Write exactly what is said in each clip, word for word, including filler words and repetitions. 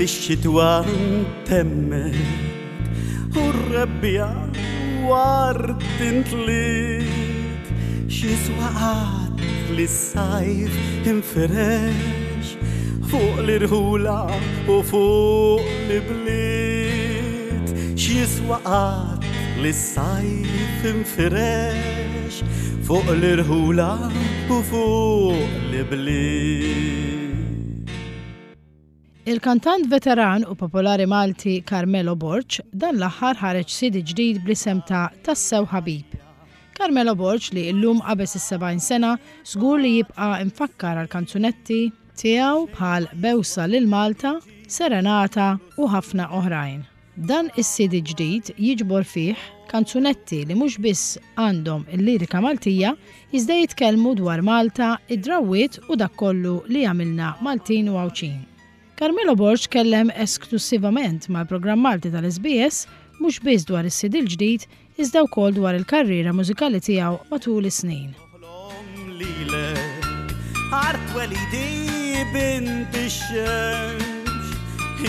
Li x-xitwa ntemmet u r-rebbiegħa ward intliet. X'jiswa qatt li s-sajf infirex fuq l-irħula u fuq l-bliet. X'jiswa qatt li s-sajf infirex fuq l-irħula u fuq l-bliet. Il-kantant veteran u popolari Malti Carmelo Borg dan l-aħħar ħareġ C D ġdid bl-isem ta' Tassew Ħabib. Carmelo Borg, li illum qabeż is-sebgħin sena, żgur li jibqa' imfakkar għal kanzunetti tiegħu bħal Bewsa lil Malta, Serenata u ħafna oħrajn. Dan is-C D ġdid jiġbor fih kanzunetti li mhux biss għandhom il-lirika Maltija, iżda jitkellmu dwar Malta, id-drawwiet u dak kollu li jagħmilna Maltin u Għawdxin. Carmelo Borg tkellem esklusivament mal-programm Malti tal-S B S mhux biss dwar is-C D l-ġdid, iżda wkoll dwar il-karriera mużikali tiegħu matul is-snin. Lilek art twelidi, bint ix-xemx,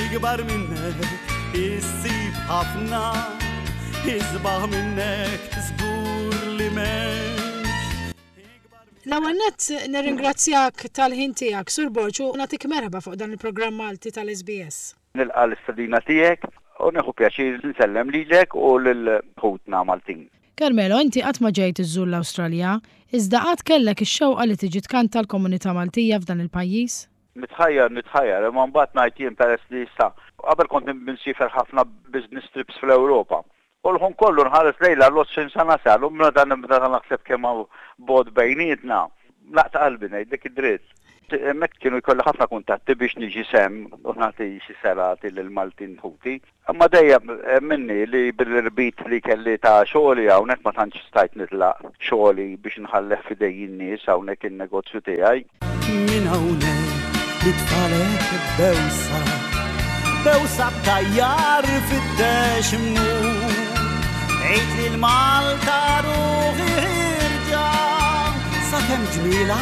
ikbar minnek issib ħafna, isbaħ minnek żgur li m'hemmx. L-ewwel nett nirringrazzjak tal-ħin tiegħek, Sur Borg, u nagħtik merħba fuq dan il-programm Malti tal-S B S. Nilqa l-istedina tiegħek u nieħu pjaċir nsellem lilek u lil ħutna Maltin. Carmelo, inti qatt ma ġejt iżżur l-Awstralja, iżda qatt kellek ix-xewqa li tiġi tkanta l-komunità Maltija f'dan il-pajjiż? Nitħajjar, nitħajjar, imma mbagħad ngħid jien, peress li issa qabel kont insiefer ħafna business trips fl-Ewropa. U l-ħin kollu nħares lejla l-għoxrin sena sal, u meta nibda naħseb kemm hawn bogħod bejnietna, naqta' qalbi, ngħidlek id-dritt. Hemmhekk kienu jkolli ħafna kuntatti biex niġi s'hemm u nagħti xi serati lil Maltin ħuti. Imma dejjem minni li bil-irbit li kelli ta' xogħli hawnhekk ma tantx stajt nitlaq xogħli biex nħalleh f'idej in-nies hawnhekk in-negozju tiegħi. Minn hawnhekk nitfagħlek bewsa, bewsa b'tajjar fittex immur. Għid lil Malta ruħi ħierġa, sakemm ġmielha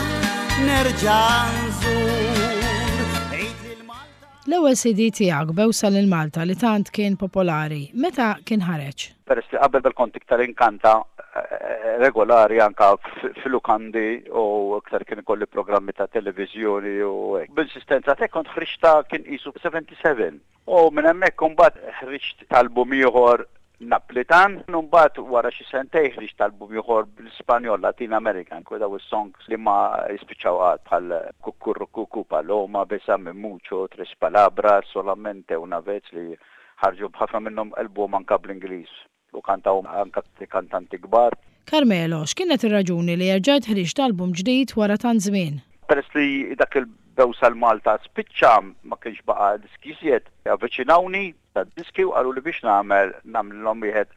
nerġa' nżur. Għid lil Malta. L-ewwel C D tiegħek, Bewsa lil Malta, li tant kien popolari, meta kien ħareġ? Peress li qabel kont iktar inkanta eh, regolari anka fil-lukandi u iktar kien ikolli programmi ta' televizjoni u hekk. B'insistenza te kont ħriġta kien qisu sebgħa u sebgħin. U minn hemmhekk imbagħad ħriġt album ieħor Naplitan, u mbagħad wara xi sentejn ħriġt album ieħor bl-Ispanjol, Latin American, kwa daw is-songs li ma jispiċċaw qatt bħal Kukurrukuku, Paloma, Besame Mucho, Tres Palabras, Solamente Una Vez, li ħarġu b'ħafna minnhom album anka bl-Ingliż u kantaw anka kantanti kbar. Carmelo, x'kienet ir-raġuni li erġajt ħriġt album ġdid wara tant żmien? Peress li dak il-Bewsa lil Malta spiċċa, ma kienx baqa diski iżjed, avviċinawni ta' diski u qalu li biex nagħmel nagħmlilhom wieħed,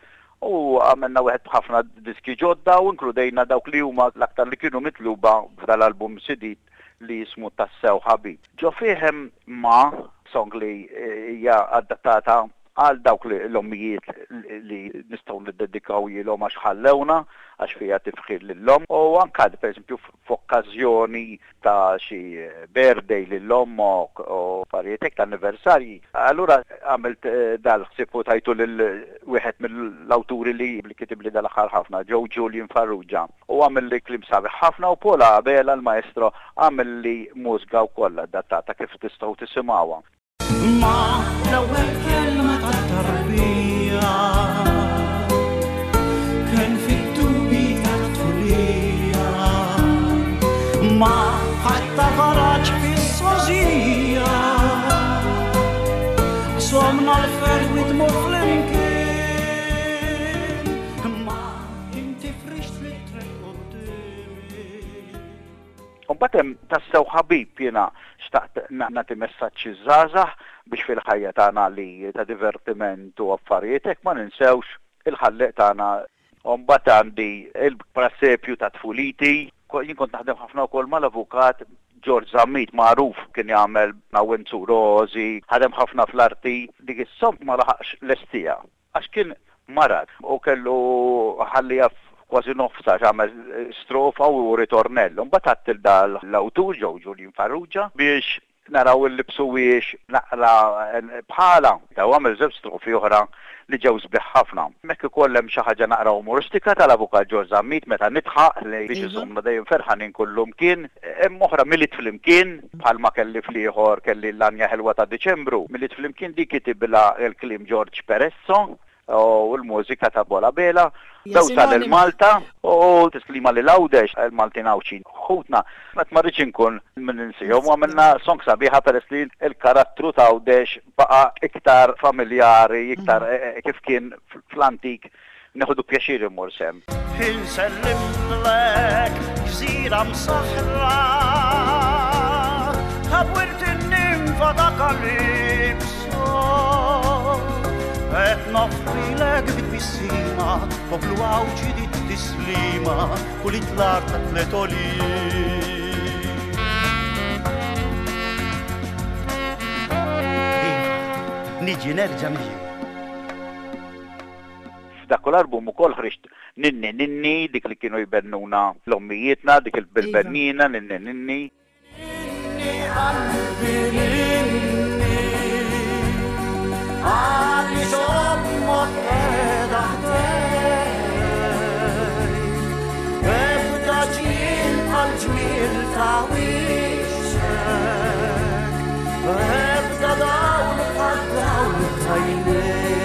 u għamilna wieħed b'ħafna diski ġodda u inkludejna dawk li huma l-aktar li kienu mitluba f'dal-album C D li jismu Tassew Ħabib. Ġo fih hemm ma song li hija adattata għal dawk li l-ommijiet li nistgħu niddedikaw lilhom għax ħallewna, għax fija tifħir lil-omm, u anka per eżempju f'okkażjoni ta' xi birthday lil-omm u affarijiet hekk ta' anniversarji. Allura għamilt eh, dal-ħsieb u tajtu lil wieħed mill-awturi li li kitib li dal-aħħar ħafna, Joe Julian Farrugia. U għamel li kliem sabiħ ħafna u Paul Abela l-maestro għamel li mużika wkoll adattata kif tistgħu tisimgħuha. Ma l-ewwel kelma tat-tarbija kien fit-tubi tat-tfulija. Ma ħatta faraġ fis-sożija, somna l-ferħ u flimkien. Ma inti frixt li triq qudiemi. Mbagħad hemm Tassew Ħabib, jiena xtaqt nagħti messaġġ żgħażagħ biex fil-ħajja tagħna li ta' divertiment u affarijiet hekk ma ninsewx il-ħalleq tagħna. U mbagħad għandi il-prasepju ta' tfuliti. Jien kont naħdem ħafna wkoll mal-avukat George Zammit, magħruf kien jagħmel ma' Wenzu Rosi, ħadem ħafna fl-arti, dik is-song ma laħaqx lestija għax kien marad u kellu ħallija kważi nofsa, għamel strofa u ritornello. Mbagħad għedt lil dal l-awtur Joe Julian Farrugia biex Naraw il-libsuwiex naqra bħala. Ta' għamel żewġ strofi oħra li ġew sbieħ ħafna. Hemmhekk ukoll hemm xi ħaġa naqra umoristika tal-Avukat George Zammit meta nidħaq li biex Iva. iżommna dejjem ferħanin kullimkien. Hemm oħra Milied Flimkien, bħalma kelli fl-ieħor kelli l-Anja Ħelwa ta' Diċembru. Milied Flimkien dik kitibilha il-kliem George Peresso u l-mużika ta' Bola Bela. Ja, Bewsa sinonima. lil Malta u tislima lil Għawdex, il-Maltin Għawdxin. Ħutna, met ma rridx inkun minn ninsihom u għamilna song sabiħa peress li il-karattru ta' Għawdex baqa' iktar familjari, iktar eh, eh, kif kien fl-antik, neħdu pjaċir immur s'hemm. Insellimlek gżira msaħra Tabwirt in-nimfa ta' Kalipso. Et noffrilek bit-tbissima, poplu Għawdxi dit tislima u li tlar ta' tliet għoljiet. Iva, niġi nerġa' niġi. F'dak l-album ukoll ħriġt Ninni Ninni, dik li kienu jbennuna l-ommijietna, dik il-bennina, Ninni Ninni. Ninni qalbi ninni, għaliex ommok qiegħda ħdejk. Ebda ġmiel bħal ġmiel ta' wiċċek, ebda dawl bħal dawl ta' għajnejk.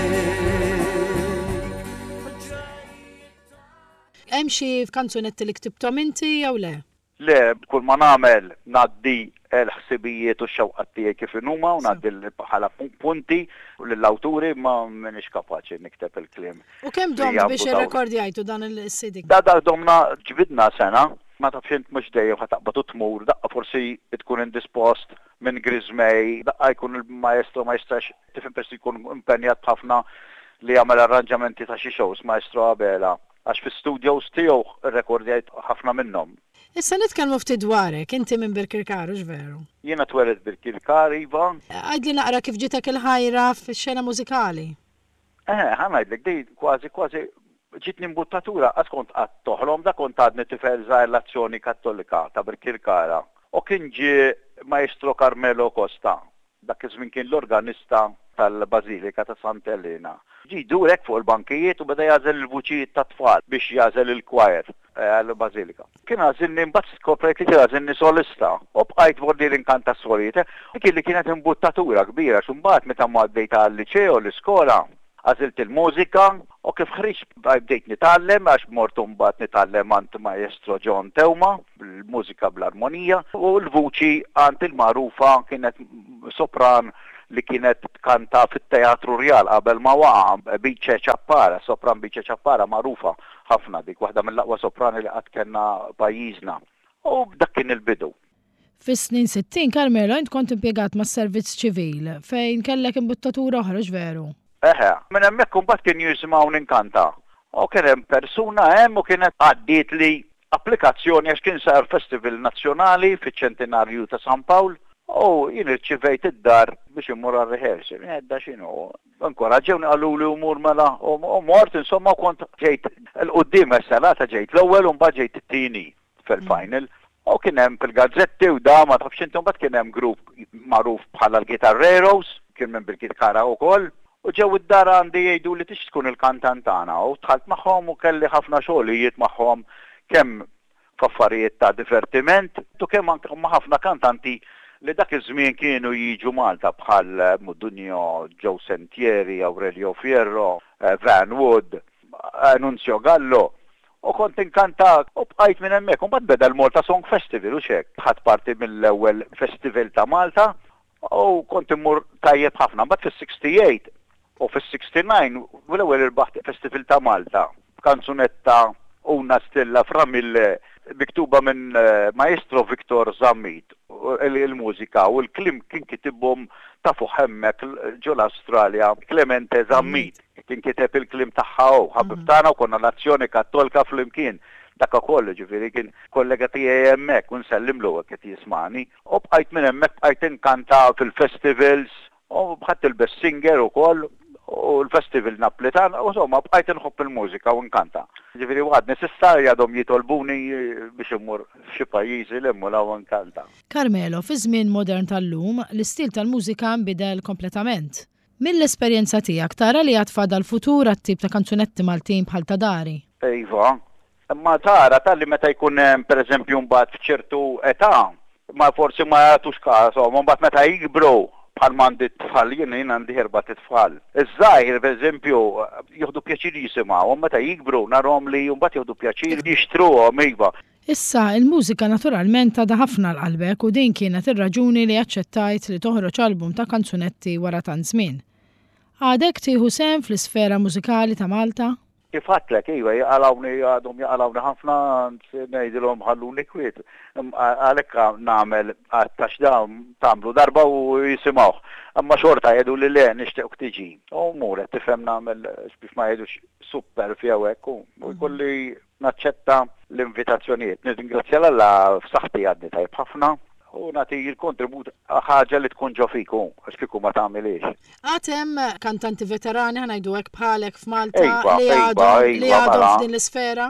Hemm xi kanzunetti li ktibthom inti jew le? Le, kull ma nagħmel ngħaddi l-ħsibijiet u x-xewqat tiegħi kif inhuma u ngħaddi l- bħala punti lill-awturi, ma m'iniex kapaċi nikteb il-kliem. U kemm Li domt jagħmlu biex dawn. irrekordjajtu dan il-C D? Da da domna, ġbidna sena, ma tafx int mhux dejjem ħa taqbad u tmur, daqqa forsi tkun indispost minn Grismej, daqqa jkun il-maestro ma jistax, tifhem, persi jkun impenjat ħafna li jagħmel arranġamenti ta' xi shows, Maestro Abela, għax fi studios tiegħu rrekordjajt ħafna minnhom. Issa nitkellmu ftit dwarek, inti minn Birkirkara, veru? Jiena twelidt Birkirkara, iva. Għidli naqra kif ġitek il-ħajra fix-xena mużikali. Eh, ħa ngħidlek, di kważi kważi ġitni imbuttatura, għax kont qatt toħlom, da kont għadni tifel żgħir, l-Azzjoni Kattolika ta' Birkirkara. U kien ġie Maestro Carmelo Costa, dak iż-żmien kien l-organista tal-Bazilika ta' Sant'Elena. Ġie jdur fuq il-bankijiet u beda jagħżel il-vuċijiet ta' tfal biex jagħżel il-choir eh, għall-Bazilika. Kien għażilni, mbagħad skoprejt li kien għażilni solista u bqajt vordi l-inkanta solijiet. Dik li kienet imbuttatura kbira, x'imbagħad meta ma għaddejt għal-liċeo, l-iskola, għażilt il-mużika u kif ħriġt bdejt nitgħallem, għax mort mbagħad nitgħallem għand Maestro John Teuma, l-mużika bl-armonija, u l-vuċi għand il-magħrufa kienet sopran li kienet tkanta fit-Teatru Rjal qabel ma waqa', Bice Ċappara, sopran Bice Ċappara, magħrufa ħafna dik, waħda mill-aqwa soprani li qatt kellna pajjiżna. U dak kien il-bidu. Fis-snin sittin, Carmelo, int kont impjegat mas-servizz ċivil fejn kellek imbuttatura oħra, veru? Eħe, minn hemmhekk imbagħad kien jisimgħu ninkanta. U kien hemm persuna hemm u kienet għaddiet li applikazzjoni għax kien sar festival nazzjonali fiċ-ċentinarju ta' San Pawl u jien irċivejt id-dar biex immur għal-rehearsal. Edda x'inhu. Inkoraġġewni, qalu li umur mela u u mort, insomma, u kont ġejt 'il quddiem serata, ġejt l-ewwel u mbagħad ġejt it-tieni fil-final. U kien hemm fil-gazzetti u da ma tafx inti, mbagħad kien hemm grupp magħruf bħala l-Gitarreros, kien minn Birkirkara wkoll. U ġew id-dar għandi jgħidu li tix tkun il-kantant tagħna u dħalt magħhom u kelli ħafna xogħlijiet magħhom, kemm f'affarijiet ta' divertiment u kemm anke ma' ħafna kantanti li dak iż-żmien kienu jiġu Malta bħal Mudunio, Joe Sentieri, Aurelio Fierro, eh, Van Wood, eh, Nunzio Gallo. U kont inkanta u bqajt minn hemmhekk. U mbagħad beda l-Malta Song Festival u xek. Ħadt parti mill-ewwel festival ta' Malta u kont immur tajjeb ħafna. Mbagħad fis-sixty-eight u fis-sixty-nine u l-ewwel irbaħt Festival ta' Malta. Kanzunetta Una Stella fra Mille, miktuba minn eh, Maestro Victor Zammit. U il- Il-mużika u l-kliem kien kitibhom ta' fuq hemmhekk ġo l-Australja Clemente Zammit. Kien kiteb il-kliem tagħha u ħabib tagħna u konna l-Azzjoni Kattolika flimkien. Dak ukoll, ġifieri, kien kollega tiegħi hemmhekk u nsellimlu hekk qed jismani. U bqajt minn hemmhekk bqajt inkanta fil-festivals u bħadt il-best singer ukoll. U l-festival Naplitan, u insomma bqajt inħobb il-mużika u nkanta. Ġifieri għadni s'issa għadhom jitolbuni biex immur f'xi pajjiżi li mmur u nkanta. Carmelo, fi żmien modern tal-lum, l-istil tal-mużika nbidel kompletament. Mill-esperjenza tiegħek tara li għad fadal futur għat-tip ta' kanzunetti Maltin bħal ta' dari? Iva, imma tara tal-li meta jkun hemm pereżempju mbagħad f'ċertu età, ma forsi ma jagħtux każ, mbagħad meta jikbru bħal m'għandi tfal, jien jien għandi erba' tfal. Iż-żgħir pereżempju jieħdu pjaċir jisimgħu, meta jikbru narhom li mbagħad jieħdu pjaċir jixtruhom iva. Issa, il-mużika naturalment għadha ħafna għal qalbek u din kienet ir-raġuni li aċċettajt li toħroġ album ta' kanzunetti wara tant żmien. Għadek tieħu sehem fl-isfera mużikali ta' Malta? Kif għedtlek, iva, jaqalawni għadhom jaqalawni ħafna, ngħidilhom ħalluni kwiet. Għalhekk nagħmel għax da tagħmlu darba u jisimgħuh. Imma xorta jgħidu li le nixtiequk tiġi. U mmur qed tifhem nagħmel biex ma jgħidux super jew hekk u jkolli naċċetta l-invitazzjonijiet. Nirringrazzja 'l Alla f'saħħti għadni tajjeb ħafna u nagħti l-kontribut ħaġa li tkun ġo fiku, għax kieku ma tagħmilix. Għad hemm kantanti veterani ħa ngħidu hekk bħalek f'Malta Iva, li iva, għadhom li iva, għadhom mela. f'din l-isfera?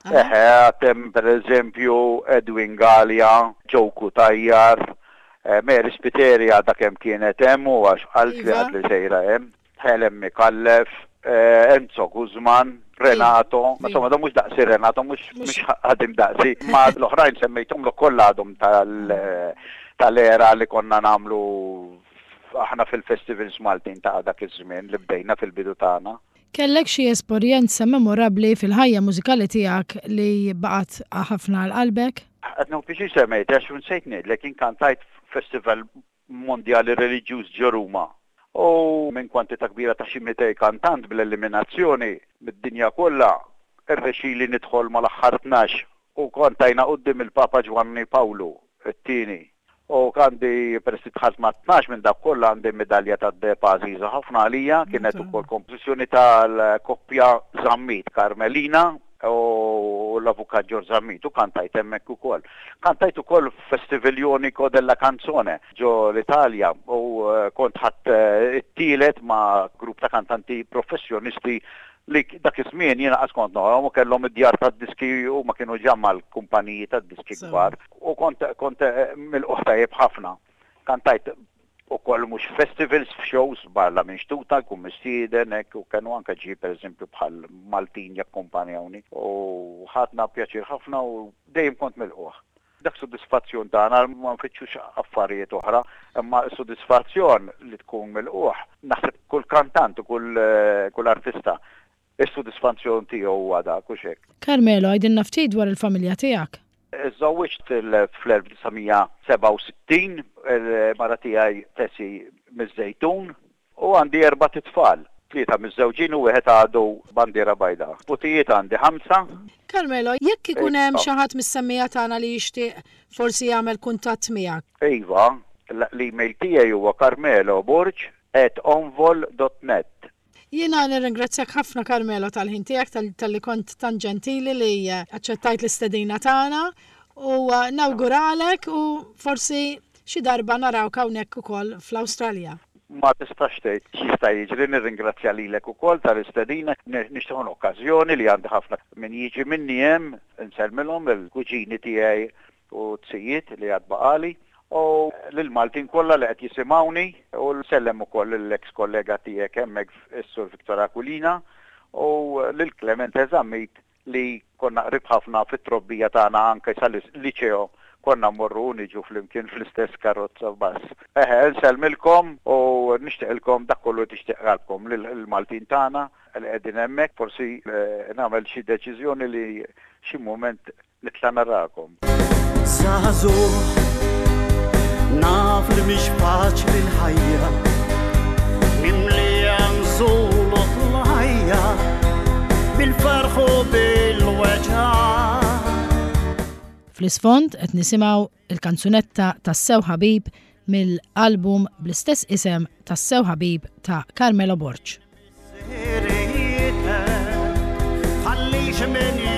Eħe, għad hemm per eżempju Edwin Galea, Joe Cutajar, eh, Mary Spiteri għadha kemm kienet hemm u għax qalt li Iva. għad li sejra hemm, Helen Micallef, eh, Enzo Guzman, Renato, Iva. ma insomma, da mhux daqsi Renato, mhux Mhux- mhux ħadim daqsi, ma l-oħrajn semmejthom l kollha għadhom tal- tal-era li konna nagħmlu aħna fil-festivals Maltin ta' dak iż-żmien li bdejna fil-bidu tagħna. Kellek xi esperjenza memorabbli fil-ħajja mużikali tiegħek li baqgħet ħafna għal qalbek? Qed nieħu pjaċir semmejt għax nsejt ngħidlek jien kantajt festival mondjali reliġjuż ġo Ruma. U minn kwantità kbira ta' xi mitej kantant bl-eliminazzjoni mid-dinja kollha, irnexxieli nidħol mal-aħħar tnax u kantajna quddiem il-Papa Ġwanni Pawlu it-tieni. U għandi peress li dħalt ma' tnax minn dak kollha għandi medalja tad-deheb għażiża ħafna għalija, kienet ukoll kompożizzjoni tal-koppja Zammit Carmelina u l-avukat George Zammit u kantajt hemmhekk ukoll. Kantajt ukoll Festival Jonico della Canzone ġo l-Italja u eh, kont ħadt eh, it-tielet ma' grupp ta' kantanti professjonisti li dak iż-żmien jiena qas kont nagħhom u kellhom id-djar tad-diski u ma kienu ġa mal-kumpaniji tad-diski Sewa. kbar u kont kont eh, milqugħ tajjeb ħafna. Kantajt ukoll mhux festivals f'shows barra minn xtutna jkun mistieden hekk u kienu anke ġie pereżempju bħal Maltin jakkumpanjawni u ħadna pjaċir ħafna u dejjem kont milqugħ. Dak sodisfazzjon tagħna ma nfittxux affarijiet oħra, imma s-sodisfazzjon li tkun milqugħ naħseb kull kantant u kull eh, kull artista is-sodisfazzjon tiegħu huwa dak u xek. Carmelo, għidilna ftit dwar il-familja tiegħek. Żżewwiġt fl-elf disa' mija sebgħa u sittin, il-mara tiegħi Tessi miż-Żejtun u għandi erba' titfal, tlieta miż-żewġin u wieħed għadu bandiera bajda. Putijiet għandi ħamsa. Carmelo, jekk ikun hemm Iva. xi ħadd mis-semmiegħa tagħna li jixtieq forsi jagħmel kuntatt miegħek. Iva, l-email tiegħi huwa carmelo borg at onvol dot net. Jiena nirringrazzjak ħafna Carmelo tal-ħin tiegħek tal-, tal-li kont tan ġentili li, eh, aċċettajt l-istedina tagħna u, eh, nawguralek u forsi xi darba narawk hawnhekk ukoll fl-Awstralja. Ma tistax tgħid x'jista' jiġri, nirringrazzja lilek ukoll tal-istedina, nixtieq okkażjoni li għandi ħafna min jiġi minni hemm, insellmilhom il-kuġini tiegħi u t-sijiet li għad baqali u lil-Maltin kollha li qed jisimgħuni u nsellem ukoll l-ex kollega tiegħek hemmhekk is-Sur Victor Aquilina u lil Clemente Zammit li konna qrib ħafna fit-trobbija tagħna anke sal-liċeo konna mmorru u niġu flimkien fl-istess karozza bus. Eħe, nsellmilkom u nixtieqilkom dak kollu tixtieq qalbkom lil-Maltin tagħna li qegħdin hemmhekk, forsi, eh, nagħmel xi deċiżjoni li xi mument nitla' narakom. Żagħżugħ, naf li mhix faċli l-ħajja, mimlija nżul u tlajja, bil-ferħ u bil-weġgħa. Fl-isfond qed nisimgħu il-kanzunetta Tassew Ħabib mill-album bl-istess isem Tassew Ħabib ta' Carmelo Borg. Ħallix min